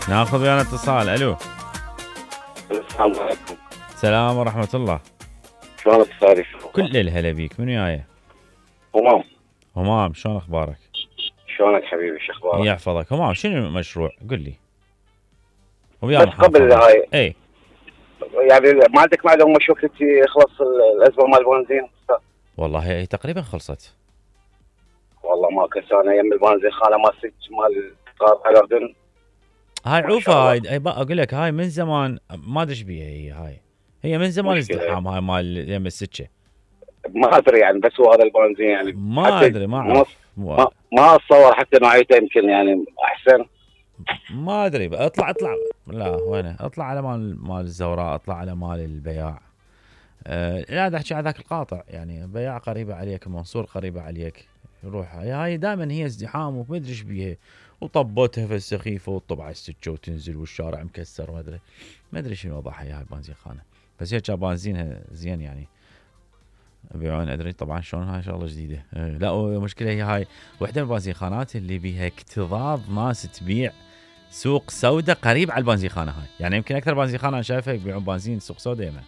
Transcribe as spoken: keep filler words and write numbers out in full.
ناخذ ويانا اتصال. الو السلام عليكم. السلام ورحمة الله. شلونك استاذي؟ كل الهلا بيك. من وياي؟ همام. همام، شلون اخبارك؟ شلونك حبيبي؟ شو اخبارك؟ يحفظك. همام، شنو المشروع؟ قل لي. بس قبل هاي اي يعني ما عندك معلومه شو وقت يخلص الازمه مال البنزين؟ والله هي تقريبا خلصت. والله ما كنت انا يم البنزين خانه مال ست مال قطار الاردن. هاي عوفه هاي اقول لك هاي من زمان ما ادري ايش بيها هي هاي هي من زمان ازدحام هاي مال يم السكه. ما ادري يعني بس هو هذا البنزين يعني ما ادري ما اعرف ما, ما اتصور حتى نوعيته يمكن يعني احسن. ما ادري. اطلع اطلع لا وينه اطلع على مال مال الزوراء، اطلع على مال البياع. أه لا دا احكي على ذاك القاطع يعني بياع قريبه عليك، منصور قريبه عليك. روح هاي دائما هي ازدحام وما ادري ايش بيها، وطبتها في السخيفه وتطب على السكه وتنزل والشارع مكسر ما ادري ما ادري شنو وضعها هاي البنزين خانه. بس هي كان بنزينها زين يعني يبيعون. ادري طبعا شلون هاي شغله جديده. أه لا المشكله هي هاي وحده من البنزين خانات اللي بيها اكتظاظ ناس تبيع سوق سوداء قريب على البنزين خانه هاي. يعني يمكن اكثر بنزين خانه انا شايفها يبيعون بنزين سوق سوداء يمه.